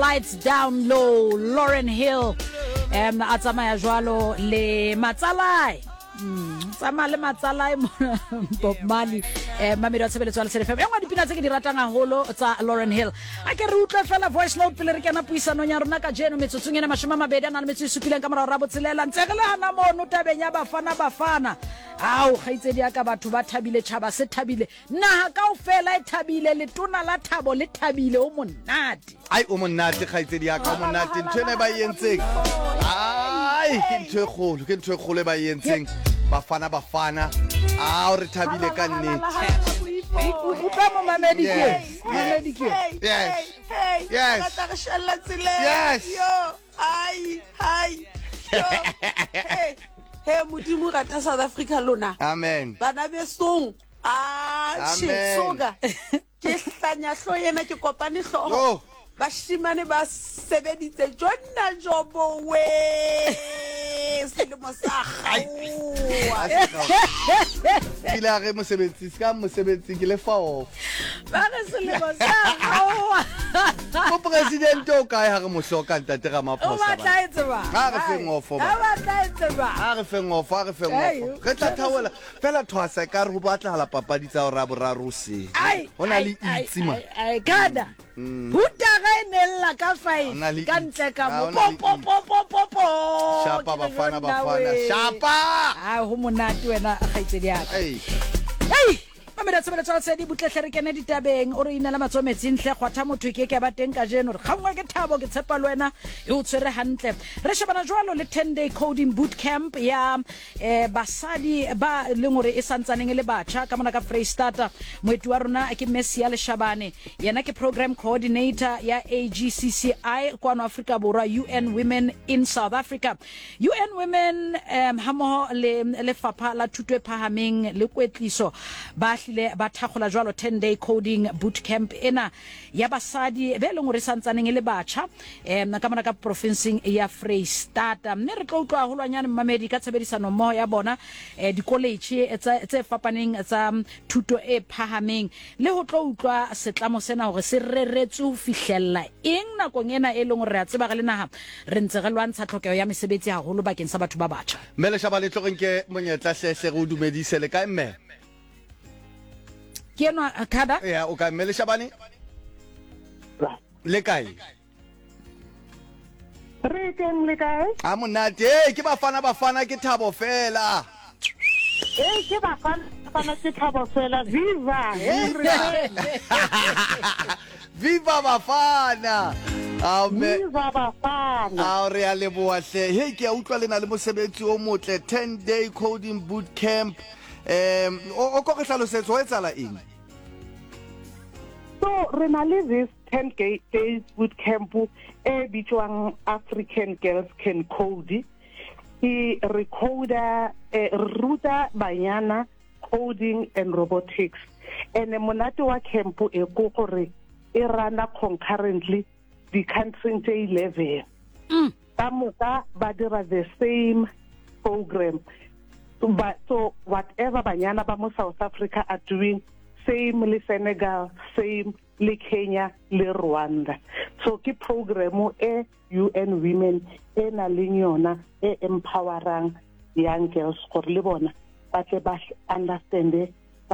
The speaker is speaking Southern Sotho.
Lights Down Low, Lauren Hill um a tsamaya jwalo le matsalae. Tsamaya le matsalae mona Bob Marley, mamedi wa tshebeletso ya Lesedi FM. E nngwe ya dipina tse ke di ratang haholo tsa Lauren Hill. A ke re utlwe fela voice note pele re kena puisanong ya rona kajeno metsotsong ena 27 ka morago ra botshelela. Ntse re le hana mono tabeng ya Bafana Bafana. Ao kgaitsedi ya ka, batho ba thabile, tjhaba se thabile, naha kaofela e thabile, letona la thabo le thabile, o monate. Ai, o monate kgaitsedi ya ka, o monate. Ntho ena e ba e entseng, ai, ke ntho e kgolo, ke ntho e kgolo e ba e entseng. Bafana Bafana, ao re thabile ka nnete. Utlwa momamedi ke, momamedi ke. Yes. Yes. Rata re shella tseleng. Yes. Yo, ai, ai. Yo. Hey, hey, Modimo rata South Africa lona. Amen. Bana besong. Ah, shit, Amen. soka. Ke hlanya hlo ena ke kopane hlogo. Yo. Bashimane ba sebeditse jonna jobo we. Selemo sa gaoa. Kile a re mosebetsi, se ka mosebetsi ke le fa off. Ba re selemo sa gaoa. Mopresidente o kae ha re mo hloka ntate O Ramaphosa? batla e tseba. Ha re feng ofo ba. Ha batla e tseba. Ha re feng ofo, ha re feng ofo. Re tla thaola fela thwasa e ka re ho batlahala papadi tsa hora boraro hoseng. Ai, Ho na le ai, itse man. ai, ai, kana. Hutara e nella ka Ho na le 5 ka itse. ntle ka Ah, mo. ho na le Po po po po po. Shapa Ke re Bafana jonna Bafana. we. Shapa! Ai, ho monate wena kgaitsedi ya ka. Ei. Hei! Mamedi tshebeletso ya Lesedi, butlehle re kene ditabeng. O re inela matsoho metsing hle, kgwatha motho e ke ke ya ba teng kajeno. Re kgangwa ke thabo, ke tshepa le wena e o tshwere hantle. Re shebana jwalo le 10 day coding boot camp ya eh, basadi ba leng hore e santsaneng e le batjha ka mona ka Freistata. Moeti wa rona ke Messia Leshabane, yena ke program coordinator ya AGCCI kwano Afrika Borwa, UN Women in South Africa. UN Women um hammoho le lefapha la thuto e phahameng le kwetliso ba hlile ba thakgola jwalo 10 day coding boot camp ena ya basadi be leng hore e santsaneng e le batjha um ka mona ka profinseng ya Freistata. Mme re tlo utlwa haholwanyane mmamedi ka tshebedisano mmoho ya bona eh, dikoletjhe tse fapaneng tsa thuto e phahameng le ho tlo utlwa setlamo sena hore se reretswe ho fihlella eng nakong ena e leng hore re a tseba re le naha re ntse re lwantsha tlhokeho ya mesebetsi haholo bakeng sa batho ba batjha. Mme Leshaba le tlo re nke monyetla hle hle re o dumedise. Le kae mme? Ke enwa Kada. Ya, o kae mme Leshabane? Le kae? Re teng, le kae? A monate. Hey, ke Bafana Bafana ke thabo fela. Hey, ke Bafana Bafana ke thabo fela. Viva! Hey, re Viva Bafana! Ao mme. Viva Bafana! Ao re a leboha hle. Hey, ke a utlwa le na le mosebetsi o motle 10 day coding boot camp. Um o ko re hlalosetse ho etsahala eng? So re na le this 10 days boot camp e bitswang African Girls Can Code. Ke re coder, re ruta banyana coding and robotics. And monate wa camp e ko gore e rana concurrently di-country tse 11. Ka moka ba dira the same program. But so whatever banyana ba mo South Africa are doing, same le Senegal, same le Kenya le Rwanda. So ke program e UN Women e na leng yona e empowerang young girls gore le bona ba tle ba understande